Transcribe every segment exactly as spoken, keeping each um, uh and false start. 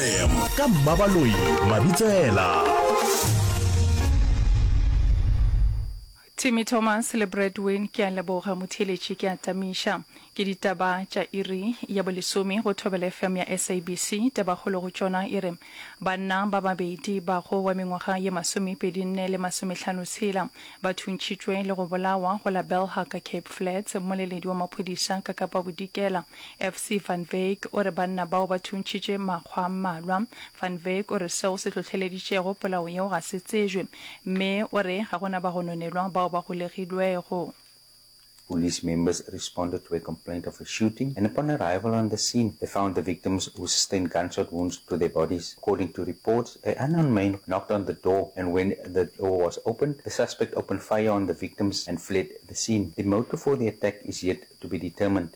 F M ka Mmabaloi Mabitsela. Timmy Thomas le Bradwin ke a leboga motheeletši ke a tamiša. Ke ditaba tša iri ya bolesome go Thobela F M ya S A B C. Tabakgolo go tšona e re banna ba babedi ba go wa mengwaga ye masomepedi nne le masomehlano tshela ba thuntšhitšwe le go bolawa go la Belhar ka Cape Flats. Mmoleledi wa maphodisa ka Kapa Bodikela F C Van Wyk o re banna bao ba thuntšhitše makgwa a mmalwa. Van Wyk o re seo se hlohleleditšego polao yeo ga se tsejwe mme o re ga gona bagononelwa bao ba golegilwego. Police members responded to a complaint of a shooting, and upon arrival on the scene, they found the victims who sustained gunshot wounds to their bodies. According to reports, an unknown man knocked on the door, and when the door was opened, the suspect opened fire on the victims and fled the scene. The motive for the attack is yet to be determined.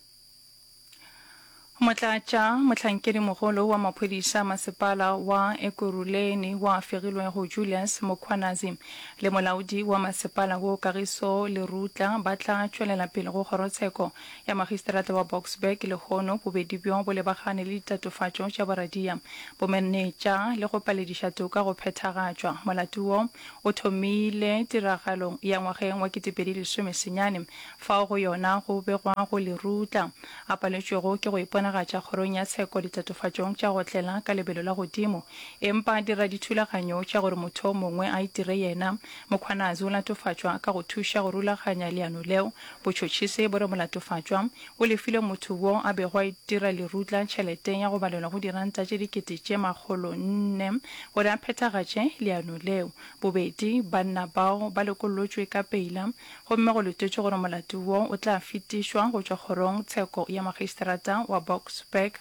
Motlatša mohlankedimogolo wa maphodisa masepala wa Ekurhuleni wa fegilwego Julius Mkhwanazi le molaodi wa masepala wo Kagiso Lerutla ba tla tšwelela pele go kgorotsheko ya magistrata wa Boksburg lehono. Bobedi bjo bo lebagane le ditatofatšo tša boradia, bomenetša le go palediša toka go phethagatšwa. Molato wo o thomile tiragalong ya ngwageng wa ketepedi lesome senyane fao go yona go begwago Lerutla a paletšwego ke go iponagatša kgorong ya tsheko ditatofatšong tša go tlela ka lebelo la godimo empa a dira dithulaganyo tša gore motho o mongwe a itire yena. Mkhwanazi o latofatšwa ka go thuša go rulaganya leano leo. Botšhotšhisi bo re molatofatšwa o lefile motho wo a bego a itira Lerutla tšhelete ya go balelwa go diranta tše dikete tše makgolo nne gore a phethagatše leano leo. Bobedi banna bao ba lokollotšwe ka peila gomme go letetšwe gore molato wo o tla fetišwa go tšwa kgorong tsheko ya magistrata wa Boksburg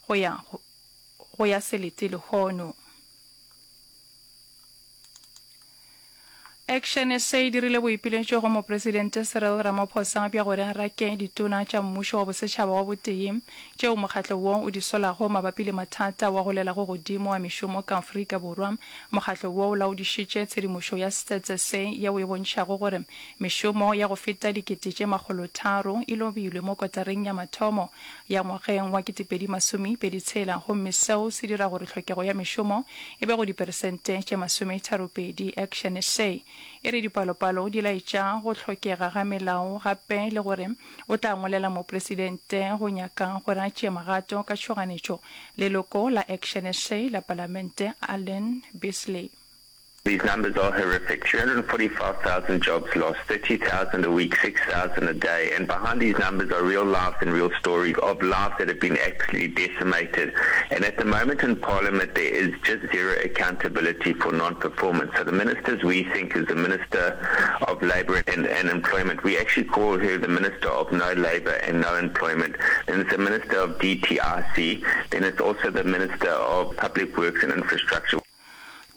go ya go ya selete lehono. Action S A e dirile boipiletšo go Mopresidente Cyril Ramaphosa bja gore a rake ditona tša mmušo wa bosetšhaba wa botee tšeo mokgatlo wo o di solago mabapi le mathata wa golelago godimo a mešomo ka Afrika Borwa. Mokgatlo wo o laodišitše tshedimošo ya Stats S A yeo e bontšhago gore mešomo ya go feta dikete tše makgolotharo e lobilwe mo kotareng ya mathomo ya ngwageng wa ketepedi masomepedi tshela gomme seo se dira gore tlhokego ya mešomo e be go diperesente tše masometharopedi. Action S A e re dipalopalo di laetša go hlokega ga melao gape le gore o tla ngwalela mopresidente go nyaka gore a tšee magato ka tšhoganetšo. Leloko la Action S A la Palamente Allan Beasley. These numbers are horrific. three hundred forty-five thousand jobs lost, thirty thousand a week, six thousand a day. And behind these numbers are real lives and real stories of lives that have been absolutely decimated. And at the moment in Parliament, there is just zero accountability for non-performance. So the ministers we think is the Minister of Labour and, and Employment. We actually call her the Minister of No Labour and No Employment. Then it's the Minister of D T I C. Then it's also the Minister of Public Works and Infrastructure.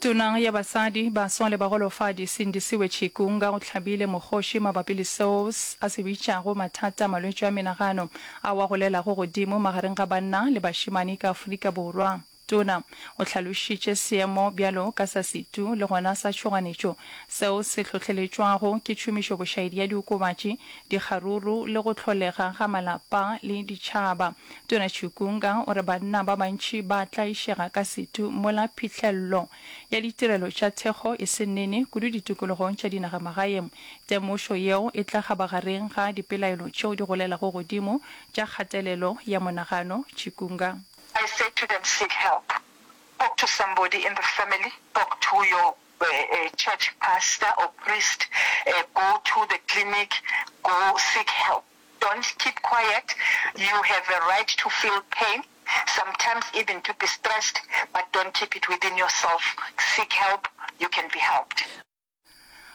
Tona ya basadi, baswa le bagolofadi Sindisiwe Chikunga o hlabile mokgoši mabapi le seo a se bitšago mathata a malwetši a menagano ao a golelago godimo magareng ga banna le bašemane ka Afrika Borwa. Tona o hlalošitše seemo bjalo ka sa setu le gona sa tšhoganetšo seo se hlohleletšwago ke tšhomišo bošaedi ya diokobatši, dikgaruru le go hlolega ga malapa le ditšhaba. Tona Chikunga o re banna ba bantši ba tlaišega ka setu mola phihlello ya ditirelo tša thekgo e se nene kudu ditikologong tša dinagamagaeng. Temošo yeo e tla kgabagareng ga dipelaelo tšeo di golelago godimo tša kgatelelo ya monagano. Chikunga. I say to them, seek help. Talk to somebody in the family, talk to your uh, uh, church pastor or priest, uh, go to the clinic, go seek help. Don't keep quiet. You have a right to feel pain, sometimes even to be stressed, but don't keep it within yourself. Seek help, you can be helped.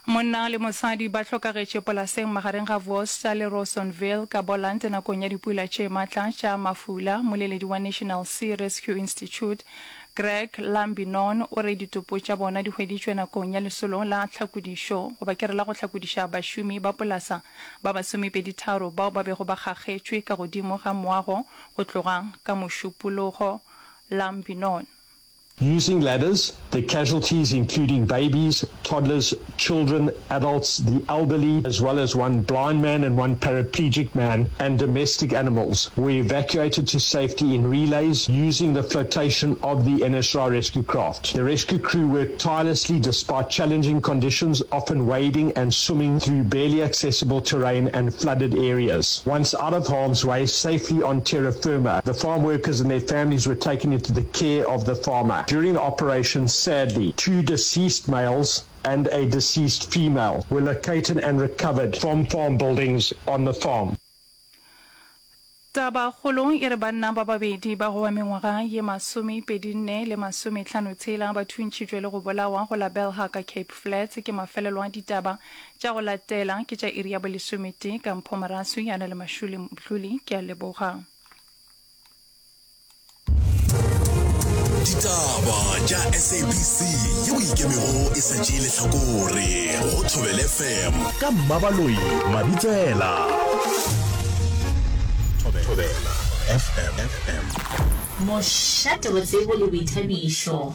Monna le mosadi ba hlokagetše polaseng magareng ga Worcester le Rawsonville ka Boland nakong ya dipula tše matla tša mafula. Moleledi wa National Sea Rescue Institute Greg Lambinon o re ditopo tša bona di hweditšwe nakong ya lesolo la tlhakodišo goba ke re la go hlakodiša bašomi ba polasa ba masomepedi tharo bao ba bego ba kgakgetšwe ka godimo ga moago go tloga ka Mošupologo. Lambinon. Using ladders, the casualties including babies, toddlers, children, adults, the elderly, as well as one blind man and one paraplegic man, and domestic animals were evacuated to safety in relays using the flotation of the N S R I rescue craft. The rescue crew worked tirelessly despite challenging conditions, often wading and swimming through barely accessible terrain and flooded areas. Once out of harm's way, safely on terra firma, the farm workers and their families were taken into the care of the farmer. During the operation, sadly, two deceased males and a deceased female were located and recovered from farm buildings on the farm. Tabakgolo e re banna ba babedi ba go ba mengwaga ye masomepedi nne le masometlhano tshela ba thuntšhitšwe le go bolawa go la Belhar ka Cape Flats. Ke mafelelo a ditaba tša go latela ke tša iri ya bolesometee ka Mpho Moraswi ya na le Mashule Mdluli. Ke a leboga. Ditaba tša S A B C yeo ikemego e sa tšee lehlakore go Thobela F M ka Mmabaloi Mabitsela. Thobela F M. Mošate wa tsebo le boithabišo.